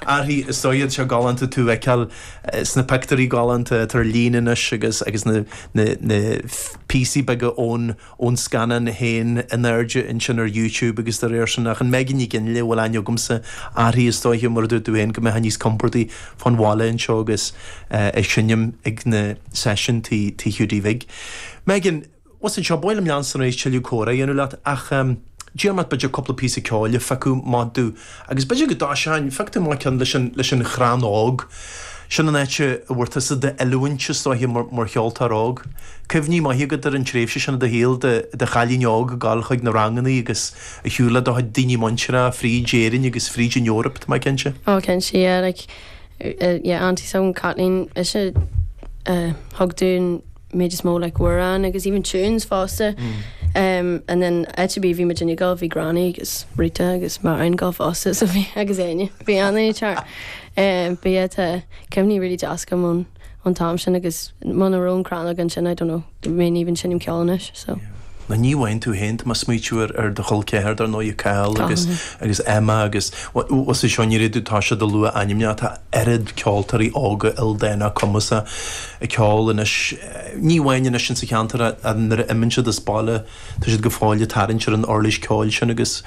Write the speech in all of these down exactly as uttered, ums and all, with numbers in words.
Arthaí is dóigh seo galánta tú a fheiceáil sna pictiúirí galánta atá ar líne anois agus agus na na na píosaí beaga ón ón scannán féin in airde ansin ar YouTube agus dá réir sin ach an Megan Ní Fhionnghaile a bhfuil aithne agamsa uirthi is dóiche mar a dúirt tú féin go mbeifeá níos compordaí fán bhaile anseo agus ag seinm ag na seisiúin tí tí Hiúdaí Bhig. Megan, bhus anseo ba mhaith liom leanstan ar aghaidh tuilleadh comhrá a dhéanamh leat ach d'iarr mé b'fhéidir cúpla píosa ceoil a phiocadh amach domh agus b'fhéidir go dtoiseoinn, phioc tú amach ceann leis an leis an Chrann Óg. Sin an áit a bhfuair tusa d'oiliúint is dóiche mar mar cheoltóir óg. Cuimhní maithe agat ar an tréimhse sin i do shaol de de chailín óg ag dul chuig na ranganna agus ag siúl le do chuid daoine muinteartha fríd Éirinn agus fríd an Eoraip, tá mé cinnte. Oh cinnte, yeah, like yeah, auntie s'agam Kathleen ise a thug dúinn méid is mó like amhráin agus even tunes fosta. Um, and then áit ar bith bhí muid ag dul bhí Granny agus Rita agus Marion ag dul fosta so bhí agus Áine bhí an tear. Um, but yeah, tá cuimhní really deas agam ón ón t-am sin agus muna raibh an Crann Óg ansin I don't know mé even seinm ceol anois so. Ná ní amháin tú féin tá mé ag smaoitiú ar ar do chol ceathar dar ndóigh Cathal agus agus Emma agus was é seo ní raibh tú tá siad a lua ainmneacha tá oiread ceoltóirí óga ildánacha cumasacha ag ceol anois ní amháin anois insa cheantar nuair a imíonn siad as baile tá siad go fóill ag tarraingt ar an uirlis ceoil sin agus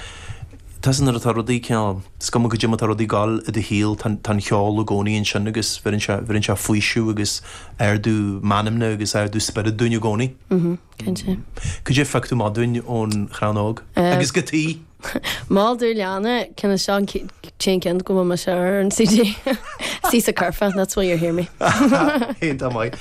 tá nuair atá rudaí cineál is cuma goidé mar atá rudaí ag dul i do shaol tá an cheol i gcónaí ansin agus bheireann sé bheireann sé faoiseamh agus ardú meanmna agus ardú spiorad dúinn i gcónaí. Mhm, cinnte. Cad é a phioc tú amach dúinn ón Chrann Óg? Agus go tí! Mol do leanna cin seo an t-aon ceann go bhfuil mise ar an CD. Sí sa curfá, that's where you hear me. Iontach maith.